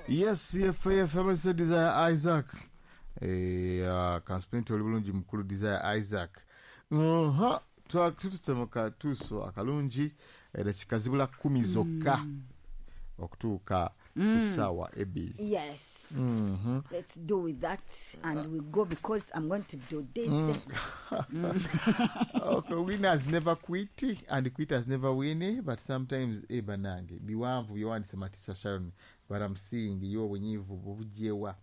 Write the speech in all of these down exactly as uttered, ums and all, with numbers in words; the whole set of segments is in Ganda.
Yes, C F F M Desire Isaac. Eh, uh, kansipenti oli bulungi, mukulu Desire Isaac. Uh-huh. Tutuse mu katuuso akalungi, edakika zibula kumi zokka okutuuka ku ssaawa ebbiri. Yes. Mhm. Let's do with that and we go because I'm going to do this. Okay, winners never quit and quitters never win, but sometimes, eh, banange, biwanvu byewandise Matisa Sharon, but I'm seeing yo obunyiivu bubugyewa.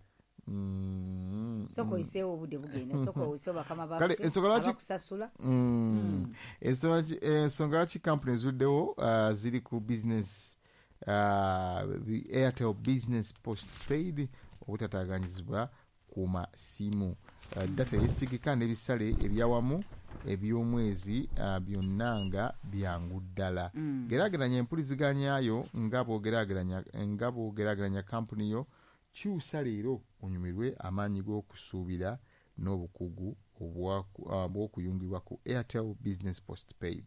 Mm. Sooka oyiseewo, obudde bugenda. Sooka oyiseewo bakama Kale, baffe ensonga lwaki- abakusasula. Mm. Ensonga lwaki- ensonga lwaki kampuni ezuddewo uh, ziri ku business, uh, the Airtel Business Postpaid, obutataganyizibwa ku masimu, uh, data yesigika n'ebisale ebyawamu eby'omwezi, uh, byonna nga byangu ddala. mm. Geraageranya empuliziganyayo nga bw'ogeraageranya nga bw'ogeraageranya kampuni yo. Kyusa leero onyumirwe amaanyi g'okusuubira n'obukugu obwa- uh, bw'okuyungibwa ku Airtel Business Postpaid,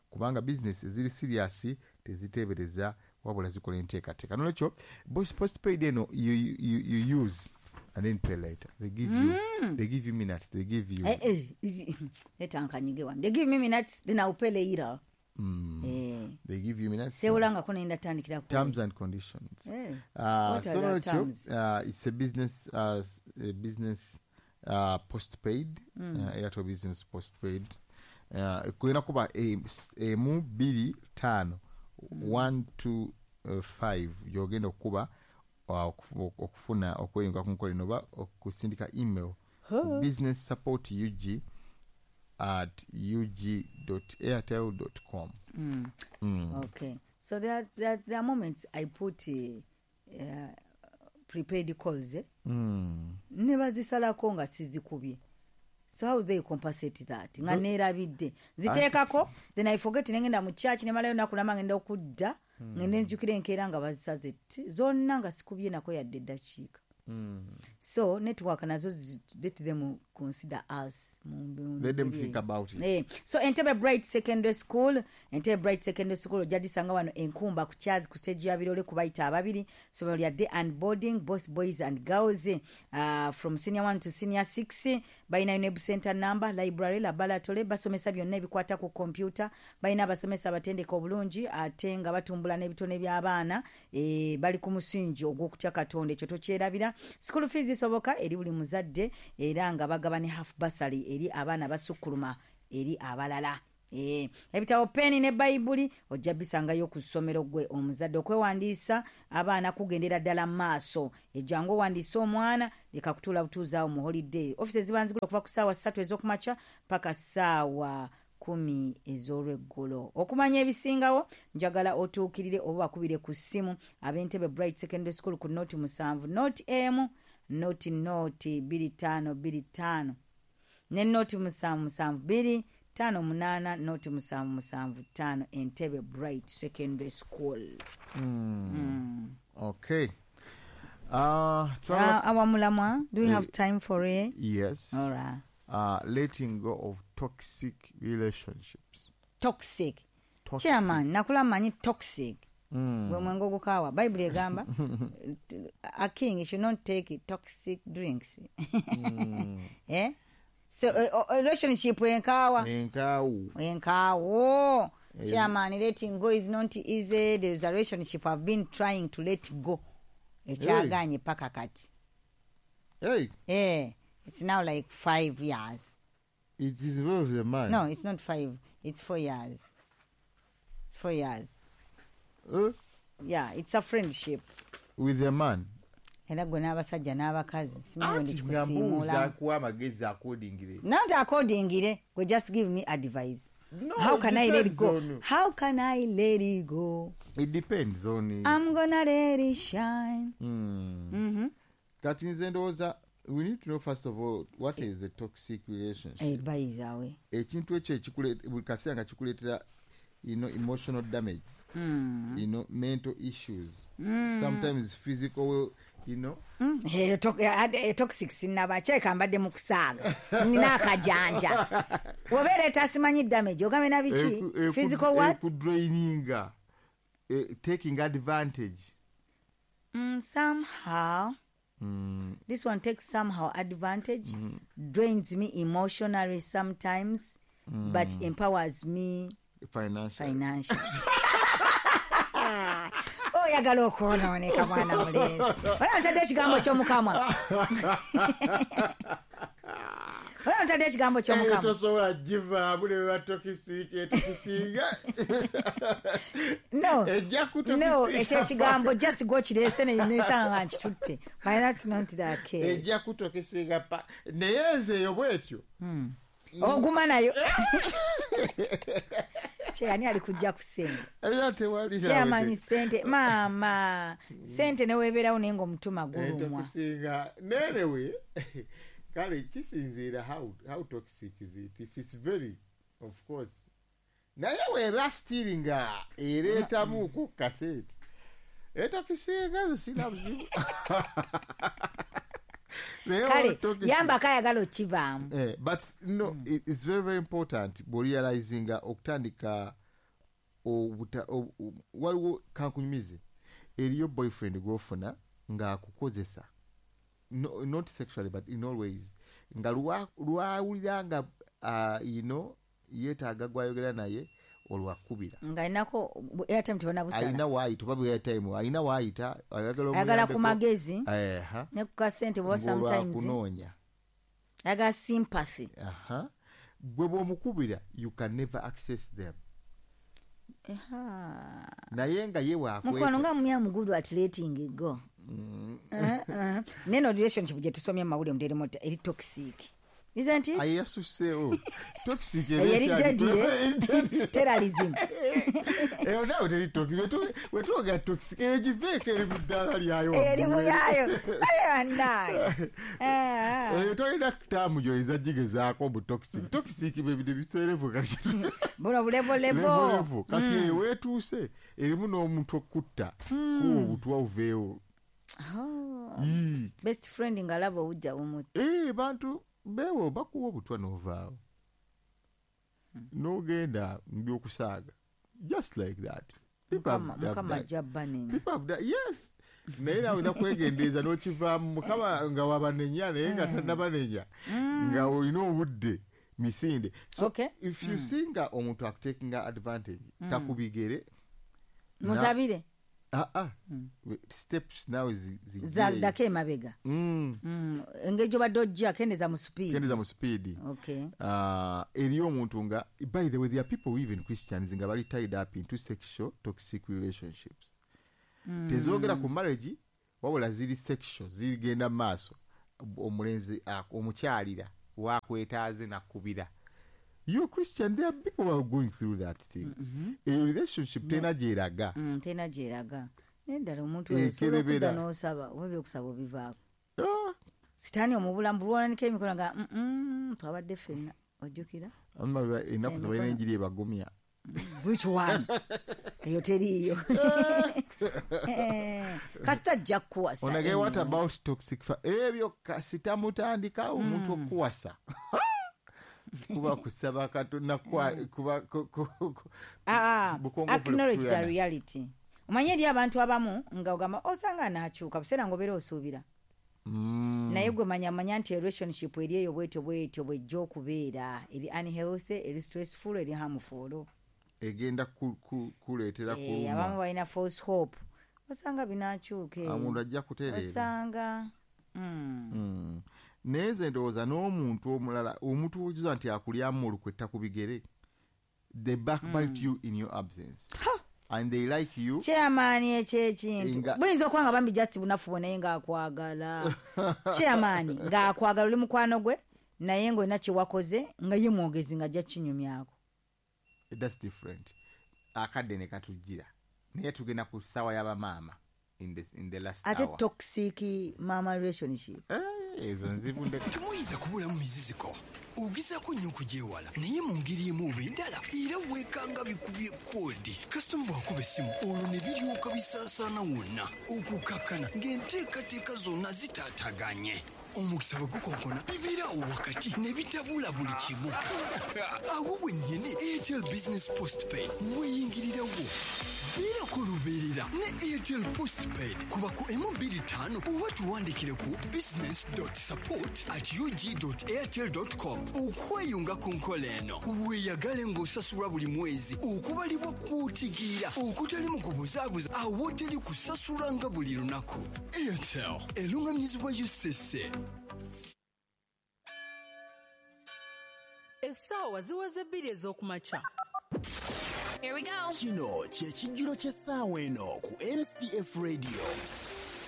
kubanga bizinesi eziri serious teziteebereza wabula zikola enteekateeka. Nolwekyo bos- postpaid eno, you, you, you use and then pay later. They give you they give you minutes, they give you Eh, eh, etankanyige wano. They give me minutes, then I'll pay later. mm, Eh. They give you minutes. Sewolangako nenda tandikira ku Terms and conditions. Eh. Uh, What so are the nolwekyo, terms? uh, it's a business uh, s- a business uh, postpaid, mm. uh, Airtel Business Postpaid, uh, kulina kuba emu bbiri ttaano one two uh, five gyogenda okukuba uh, okufu- okufuna okweyunga ku nkola eno oba okusindika email business support ug at ug airtel com. Mm. mm. Okay. So there are, there, are- there are moments I put uh, uh, prepaid calls, eh? Mm. Ne bazisalako nga sizikubye. So how they compensate that nga neerabidde ziteekako? Then I forget, nengenda mu church, nemalayo naku nama, ngenda okudda, ngende nzijukira enkeera nga bazisaze ti zonna nga sikubye nako yadde eddakiika. Mm. So network nazo zi- let them consider us mu- mu Let them ngeri think eyo. About it. Eh, so Entebbe Bright Secondary School, Entebbe Bright Secondary School ojja disanga wano Enkumba ku Kyazi ku stage ya Birole kubayita ababiri. Somero lya day and boarding, both boys and girls, uh, from senior one to senior six. Balina U N E B center number, library, laboratory, basomesa byonna ebikwata ku computer. Balina abasomesa abatendeka obulungi ate nga batumbula n'ebitone by'abaana. eh, bali ku musingi ogw'okutya Katonda, ekyo tokyerabira. School fees isoboka eri buli muzadde era nga bagaba ne half bursary eri abaana basukkuluma eri abalala. Eh, ebitabo, peni ne Bayibuli ojja bisangayo ku ssomero. Gwe omuzadde, okwewandiisa abaana kugendera ddala mu maaso. Ejjangu owandiise omwana, leka kutuula butuuzaawo mu holiday. Ofisi ziba nzigula okuva ku ssaawa ssatu ez'okumakya paka ssaawa kumi ez'olweggulo. Okumanya ebisingawo, njagala otuukirire oba bakubire ku ssimu ab'Entebe Bright Secondary School ku noti musanvu noti emu noti noti bbiri ttaano bbiri ttaano ne noti musanvu musanvu bbiri ttaano munaana noti musanvu musanvu ttaano. Entebe Bright Secondary School. Mm. Okay. Uh, twala- Uh, awamulamwa, do we have Eh, time for it? Yes. All right. Uh, letting go of toxic relationships. Toxic. Toxic. Chairman, nakula manyi toxic Mm. gwe mwenge ogukaawa. Bayibuli egamba a king should not take toxic drinks. Eh? So uh, relationship enkaawa. Enkaawu. Enkaawo. Eh. Chairman, letting go is not easy. There is a relationship I've been trying to let go, ekyaganye paka kati. Hey, Eh, it's now like five years. It is involves a man. No, it's not five, it's four years. It's four years. Uh, Yeah, it's a friendship. With a man. Era gwe n'abasajja n'abakazi simanyi Anti ndi nga mbuuza kikusiimuulamu. Akuwa amagezi accordingly. Not accordingly, gwe just give me advice. No, How it can I let it depends go? on- How can I let it go? It depends on I'm gonna let it shine. Mm. mm-hmm. Kati nze ndowooza we need to know first of all what is a toxic relationship. Eh, by the way, Ekintu ekyo ekikule- buli kaseera nga kikuleetera you know, emotional damage, mm. you know, mental issues, sometimes physical you know Mm. Eh, to- eh, eh, toxic sinaba kyeka mbadde mu kusaaga, nina akajanja obeera tasimanyi damage ogambe na biki. Eku- eku- Physical what? Ekudraininga, eh, taking advantage. Mm, somehow Mm, this one takes somehow advantage, drains me emotionally sometimes, but empowers me financial financially. Oyagala okwonooneka mwana mulenzi. Wala ntadde ekigambo ky'omukamwa. Wala ntadde ekigambo Eyo ky'omukamwa. Tosobola givaamu ne beba toxic etokisinga. No. Ejja No, kutokisinga. Ekyo ekigambo just gwokireese ne nesanga nga nkitutte. But that's not the case. Ejja kutokisinga pa naye nze eyo bwetyo. Oguma nayo. Kyeyani ali kujja ku ssente? Era tewali. Kyeyamanyi ssente maama ssente newebeerawo naye ng'omutima gulumwa. Etokisinga nerewe kale kisinziira how, how toxic is it. If it's very, of course, naye weba still nga ereetamuko kasente etokisinga nze sina buzibu. Naye Kale toxic- yambako ayagala okivaamu. Eh, but no, it, it's very very important bw'orealizinga okutandika obuta ob- ob- waliwo kankunyumize eriyo boyfriend gw'ofuna ng'akukozesa, no, not sexually but in all ways, nga lwa- lwawulira nga uh, you know, yeetaaga gwayogera naye olwakubira. Ng'alinako airtime tebanabusala. Alina waayita oba airtime alina waayita ayagala Ayagala ku omuyambeko. magezi Eha. ne ku kasente bwoba sometimes ng'olwakunoonya. Ayagala sympathy. Aha. Gwe bw'omukubira you can never access them. Eha. Naye nga ye Mukwano bwakweta nga mumya mugudu at letting go. Eh, eh. Neno relationship gye tusomye mu mawulire muteremu eri toxic, isn't it? Ayasuseewo toxic. Eyo eri deadly terrorism. Eyo naawe teri toxic. Wetu- wetwogera toxic eyo giveeko eri mu ddaala lyayo Eri waggulu. muyayo ayo bannange. Eyo tolina taamu gyoyinza gigezaako mu toxic. Toxic bwe bino biseerevu kati. Buno bulevolevo. Levolevo kati eyo weetuuse erimu n'omuntu okutta kuwa obutwa oveewo. Yii. Best friend ng'alaba obujja bumutta. Eh, bantu beewo bakuwa obutwa n'ovaawo n'ogenda mu byokusaaga just like that. People have- Mukama have Mukama died. ajja banenya. People have died. Yes, naye nawe olina kwegendereza n'okivaamu mukama nga wabanenya naye nga tannabanenya nga olina obudde misinde. So Okay. if you see nga omuntu akutakinga advantage takubigere. Musabire. Ah, ah. Steps nawe zi- zijjeeyo. Zaddako emabega. Mm. Mm, engeri gy'obadde ojja kendeza mu speed. Kendeza mu speed. Okay. uh, eriyo omuntu nga, by the way, there are people, even Christians, nga bali tied up into sexual toxic relationships mm. Tezogera ku marriage wabula ziri sexual, zigenda mu maaso. Omulenzi ak- omukyalira wakwetaaze nakubira. You Christian, there are people who are going through that thing. mm -hmm. A relationship tena gyeraga. Mm, tena gyeraga naye ddala omuntu oyo osobola Ekerebera. okudda n'osaba oba ebyokusaba obivaako. Ah, Sitaani omubulamu bulwananika emikono nga "Mm, mm, twabadde ffenna ojjukira." Amma ennaku ze balina enjiri ebagumya. Which one? Eyo teriiyo. Eh, kasita ajja kukuwasa. Onage what anyway. about toxic fa ebyo kasita mutandika omuntu okuwasa kuba kusaba Katonda kwa kuba ku- ku- ku- Ah, ah, bukongovule acknowledge the kutuyana. reality. Omanye eri abantu abamu nga ogamba osanga anaakyuka buseera ngaobeera osuubira. Mm. Naye gwe manya manya nti relationship eri eyo bwetyo bwetyo bwejja okubeera eri unhealthy, eri stressful, eri harmful. Egenda ku- ku- kuleetera Eh, abamu kuluma. Balina false hope osanga binaakyuka eyo. Omuntu ajja kutereera. Osanga mm. Mm. Naye nze ndowooza n'omuntu omulala omuntu ojuza nti akulyamu olukwe ku bigere, they backbite you in your absence and they like you. Chairman, ekyo ekintu Nga- buyinza okuba nga bambi just bunafu bwe naye ng'akwagala. Chairman ng'akwagala oli mukwano gwe naye ng'olina kyewakoze nga ye mwogezi ng'ajja kinyumyako. That's different. Akadde ne katujjira naye tugenda ku ssaawa y'abamaama in the, in the last Ate hour. Toxic mama relationship. Eh, ezo nzivu ndeka. Temuyinza kubulamu miziziko ogezaako nnyo okugyewala naye mu ngeri emu oba endala era weekanga bikubye koodi kasitoma bw'akuba essimu olwo ne biryoka bisaasaana wonna okukakkana ng'enteekateeka zonna zitaataganye. Omukisa bwe gukonkona bibeerawo wakati ne bitabula buli kimu. Awo wennyini Airtel Business Postpaid weeyingirirawo. Beerako lubeerera ne Airtel Postpaid kuba ku emu bbiri ttaano oba tuwandikire ku business dot support at ug dot airtel dot com okweyunga ku nkola eno. Weeyagale ng'osasulwa buli mwezi okubalibwa kw'otegeera okutali mu kubuzaabuza awo teri kusasula nga buli lunaku. Airtel eruŋŋamizibwa U C C. Essaawa ziweze bbiri ez'okumakya. Here we go. Kino kye kijjulo ky'essaawa eno ku M C F Radio.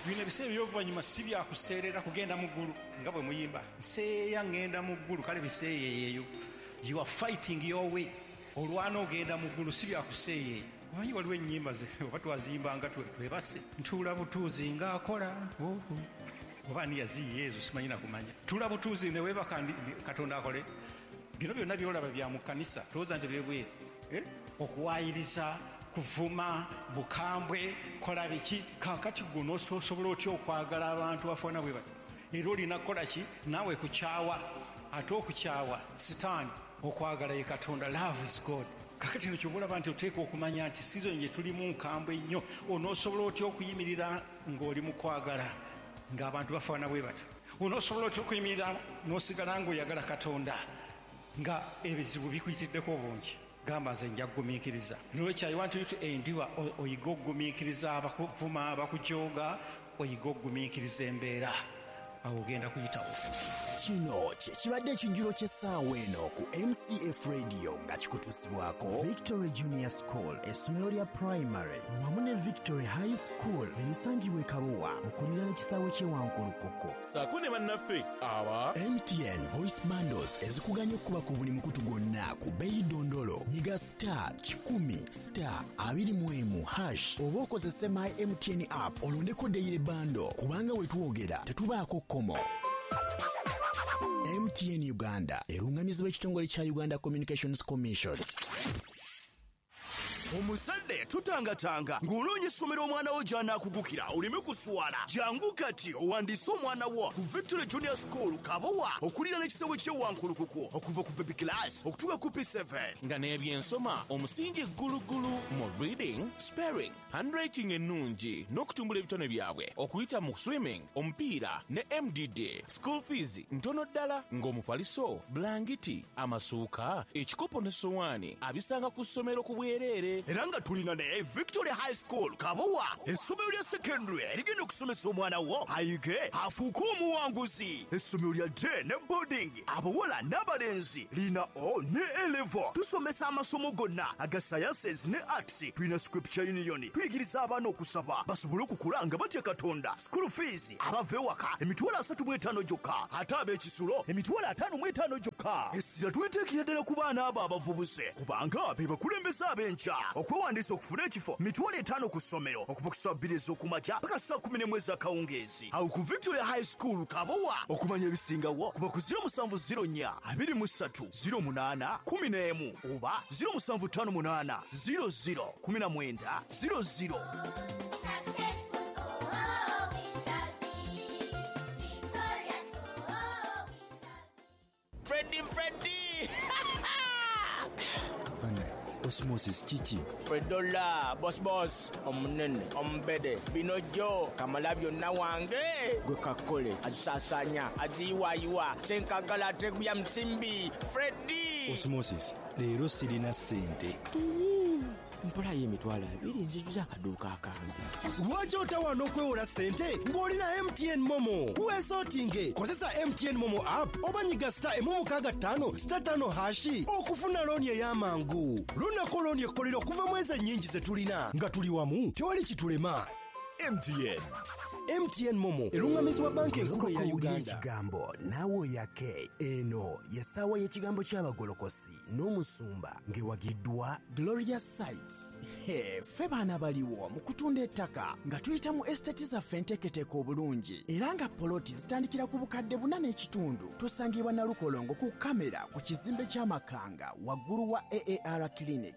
Bino ebiseera eby'oluvannyuma si bya kuseerera kugenda mu ggulu nga bwe muyimba. Nseeya ŋŋenda mu ggulu, kale biseeyeeyo. You are fighting your way. Olwana ogenda mu ggulu si bya kuseeyeeya. Omanyi waliwo ennyimba ze oba twaziyimbanga twebase. Ntuula butuuzi ng'akola. Oba ani yaziyiya ezo simanyi na kumanya. Ntuula butuuzi ne weebaka Katonda akole. Bino byonna by'olaba bya mu kkanisa, tolowooza nti byebweru. Eh? Okuwaayiriza, kuvuma, bukambwe, kola biki. Kaakati gwe onoosobola otya okwagala abantu bafaanana bwe bati? Era olina kukola ki? Naawe kukyawa. Ate okukyawa Sitaani, okwagala ye Katonda. Love is God. Kaakati no ky'oba olaba nti oteekwa okumanya nti season gye tulimu nkambwe nnyo. Onoosobola otya okuyimirira ng'oli mu kwagala ng'abantu bafaanana bwe bati? Onoosobola otya okuyimirira n'osigala ng'oyagala Katonda nga ebizibu bikuyitiddeko obungi? Gamba nze nja kugumiikiriza. Nolwekyo I want you to endure, oyige okugumiikiriza abakuvuma, abakujooga, oyige okugumiikiriza embeera. Awo ogenda kuyitawo. Kino kye kibadde ekijjulo ky'essaawa eno ku M C F Radio nga kikutuusibwako Victory Junior School, essomero lya primary wamu ne Victory High School erisangibwa e Kabowa okuliraana ekisaawe ky'e Wankulukuku. Ssaako ne bannaffe aba M T N Voice Bundles ezikuganya okukuba ku buli mukutu gwonna ku bbeeyi ddondolo. Nyiga star kikumi star abiri mu emu hash oba okozese My M T N app olondeko daily bundle kubanga we twogera tetubaako kkomo. M T N Uganda erungamizibwa ekitongole kya Uganda Communications Commission. Omusade tutangatanga ng'onoonya essomero omwana wo gy'anaakugukira oleme kuswala. Jangu kati owandiise omwana wo ku Victory Junior School Kabowa okuliraana ekisaawe ky'e Wankulukuku okuva ku baby class okutuuka ku P seven. Nga n'ebyensoma omusingi ggulugulu mu reading, spelling, handwriting ennungi n'okutumbula ebitone byabwe okuyita mu swimming, omupiira ne M D D. School fees ntono ddala ng'omufaliso, bulangiti, amasuuka, ekikopo n'essowaani abisanga ku ssomero ku bwereere. Era nga tulina ne Victory High School Kabowa, essomero lya secondary erigenda okusomesa omwana wo ayige afuuke omuwanguzi. Essomero lya day ne boarding, abawala n'abalenzi, lina O ne A level. Tusomesa amasomo gonna aga sciences ne arts. Tulina Scripture Union, tuyigiriza abaana okusaba basobole okukula nga batya Katonda. School fees abava ewaka emitwalo asatu mu etaano gyokka, ate ab'ekisulo emitwalo ataano mu etaano gyokka. Essira tuliteekera ddala ku baana abo abavubuse kubanga be bakulembeze ab'enkya. Okwewandiisa okufuna ekifo mitwalo etaano ku ssomero okuva ku ssaawa bbiri ez'okumakya paka ssaawa kkumi n'emu ez'akawungeezi. Awo ku Victoria High School Kabowa. Okumanya ebisingawo kuba ku ziro musanvu ziro nnya abiri mu ssatu ziro munaana kkumi n'emu oba ziro musanvu ttaano munaana ziro ziro kkumi na mwenda ziro ziro. Freddy, Freddy! Osmosis kiki? Fredola, boss boss, omunene, ombede, binojo, kamala byonna wange, gwe kakole, azisaasaanya, aziyiwaayiwa, senkagala ateguya musimbi, Freddy! Osmosis, leero sirina ssente. Mpola y'emitwalo abiri nzijuza akaduuka akange. Lwaki otawaana okwewola ssente ng'olina M T N Momo? Weesootinge, kozesa M T N Momo app oba nyiga star emu mukaaga ttaano star ttaano hashi okufuna looni ey'amangu. Lunako looni ekkolera okuva mu ezo ennyingi ze tulina nga tuli wamu tewali kitulema. M T N. M T N Momo erungamizibwa banka enkulu ya Uganda. Ekigambo naawe oyake. Eno ye ssaawa y'ekigambo ky'abagolokosi n'omusumba ng'ewagiddwa Gloria Sites. He, ffe baana baliwo mu kutunda ettaka nga tuyita mu estate zaffe enteeketeeka obulungi era nga poloti zitandikira ku bukadde buna n'ekitundu. Tusangibwa Nalukolongo ku kamera ku kizimbe ky'Amakanga waggulu wa A A R Clinic.